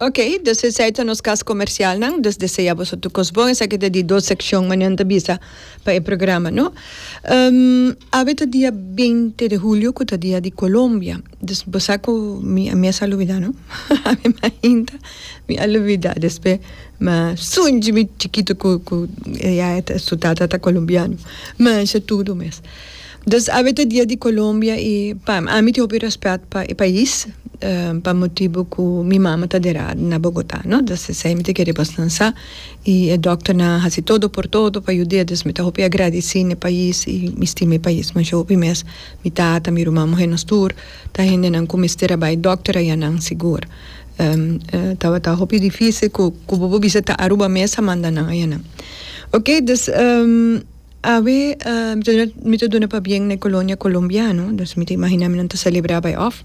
Ok, dus esei ta nos kas komersialnan, dus desea boso tur kos bon. Esaki ta di dos sekshon manera nan ta bisa pa e programa, no? Awe ta dia binte di hulio ku ta dia di Colombia. Dus bo sa ku mi a mes a lubida, no? Awe mainta mi a lubida, despues mi a sunchi mi chikitu ku ku ya su tata ta colombiano. Masha tudu mes. Dus awe ta dia di Colombia y pa ami tin hopi respet pa e pais pa motibo cu mi mama ta dera na Bogota no dus esey mi ta kere bosnan sa y e dokternan a haci todo por todo pa yud'e dus mi ta hopi agradeci na e pais y mi stima e pais masha hopi mes mi tata mi ruman muher nos tur ta hendenan cu mester a bay dokter ayanan sigur tabata hopi dificil cu cu bo por bisa ta Aruba mes a manda nan ayanan ok dus. Awe mi ta duna pabien na e colonia colombiano, dus mi ta imagina mi nan ta celebra bay of.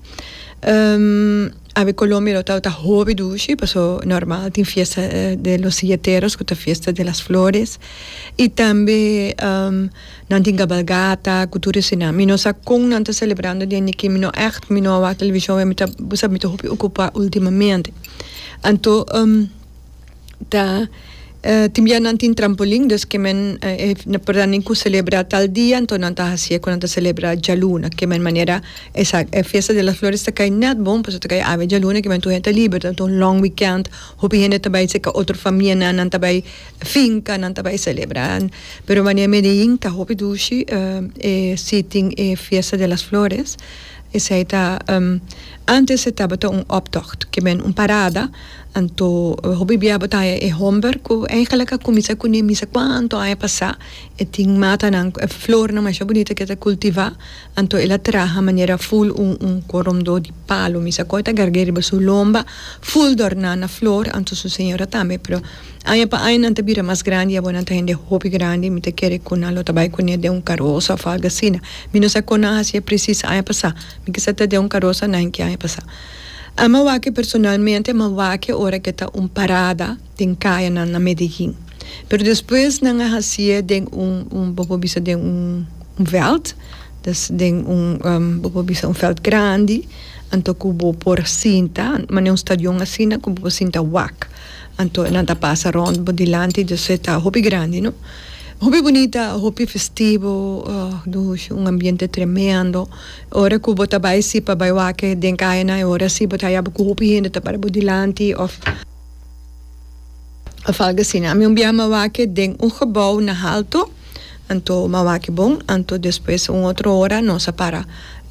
Awe Colombia lo tabata hopi dushi paso normal tin fiesta de los silleteros cu ta fiesta de las flores y tambe nan tin cabalgata cu tur esina. Mi no sa con nan ta celebrando den diki mi no echt mi no a wak television mi ta bo sa mi ta hopi ocupa ultimamente. Anto. Ta tin bia nan tin trampolin dus ke men por nan ku celebra tal dia anto nan ta hacié ku nan ta celebra djaluna ke men manera esa e fiesta de las flores ta kai net bon pasobra ta kai awe djaluna ke men tur hende ta liber ta un long weekend hopi hende ta bai seka otro famianan nan ta bai finca nan ta bai celebra pero manera Medellin ta hopi dushi e si tin e fiesta de las flores esei ta antes e tabata un optocht ke men un parada. Anto hopi bia bo ta haña e homber ku eigenlijk a kuminsá kuné misa kuantu aña pasá. E tin matanan, e flornan masha bunita ku e ta kultivá. Anto el a traha manera ful un un koromdó di palu. Misa ku e ta garg'é riba su lomba ful dòrná na flor. Anto su señora tambe. Pero aña pa aña nan ta bira mas grandi i awor nan ta hende hopi grandi. Mi ta kere ku nan lo ta bai kuné den un karosa òf algu asina. Mi no sa kon nan a hasié presis aña pasá. Mi kisa ta den un karosa nan ki aña pasá. Ama wak personalmente ama wak ora ke ta un parada den kayanan na Medellin. Pero despues nan a hasié den un un bo por bisa den un un vèlt, dus den un bo por bisa un vèlt grandi, anto ku bo por sinta manera un stadion asina ku bo por sinta wak. Anto nan ta pasa rònt bo dilanti dus e ta hopi grandi no. Hopi bunita, hopi festivo, dushi, un ambiente tremendo. Ora ku bo ta bai si pa bai wak den kayanan e ora si bo ta haya bo ku hopi hende ta para bo dilanti òf òf algu asina. Ami un bia mi a wak den un gebou na halto, anto mi a wak bon, anto despues un otro ora nos a para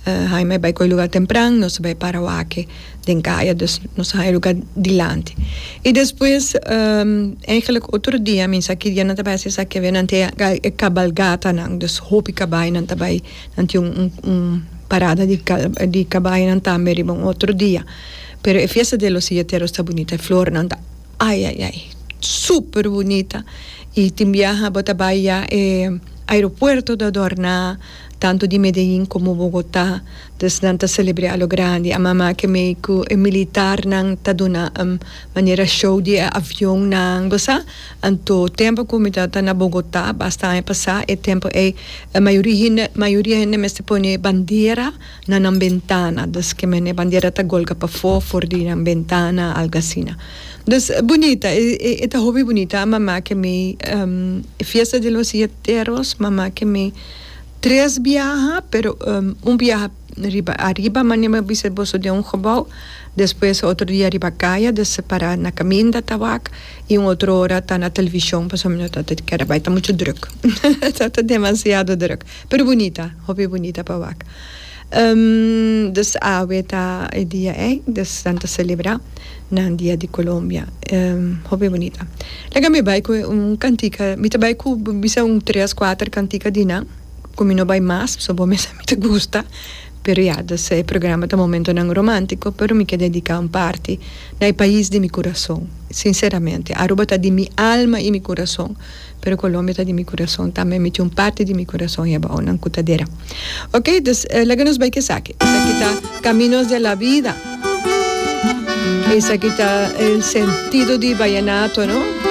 Jaime a bai ku e luga tempran, nos a bai para wak den kaya, dus nos a haya luga dilanti. I despues eigenlijk otro dia mi sa ki dia nan ta bai hasi esaki awe nan tin e kabalgatanan, dus hopi kabainan ta bai. Nan tin un un parada di di kabayonan tambe riba un otro dia. Pero e fiesta de los silleteros ta bunita, e flornan ta ay ay ay super bunita y tin biaha bo ta bay ya e aeropuerto ta adorna tanto di Medellin como Bogota, dus nan ta celebra a lo grandi. A mama ke mey cu e militarnan ta duna manera show di e avionnan, bo sa. Anto tempo cu mi tabata na Bogota basta aña pasa e tempo ey e mayoria hende mayoria hende mester pone bandera na nan bentana dus ke men e bandera ta golga pafo for di nan bentana algo asina dus bunita e ta hopi bunita a mama ke mi e fiesta de los silleteros mama ke mi tres biaha pero un biaha riba ariba manera mi a bisa boso den un gebou despues otro dia riba kaya dus para na kaminda ta wak. Y un otro ora ta na television pasobra mi no ta kere bai ta mucho druk ta ta demasiado druk pero bunita hopi bunita pa wak dus awe ta e dia ey dus nan ta celebra nan dia di Colombia hopi bunita laga mi bai cu un cantica mi ta bai cu bisa un tres cuater cantica di nan cu mi no bai mas pasobra bo mesa mi ta gusta pero ya dus e programa ta momentonan romantico pero mi ke dedica un parti na e pais di mi kurason. Sinseramente, Aruba ta di mi alma i mi kurason, pero Colombia ta di mi kurason tambe. Mi tin un parti di mi kurason e abao nan ku ta dera. Ok, dus laga nos bai ku esaki. Esaki ta Caminos de la Vida. Esaki ta el sentido di vallenato, no?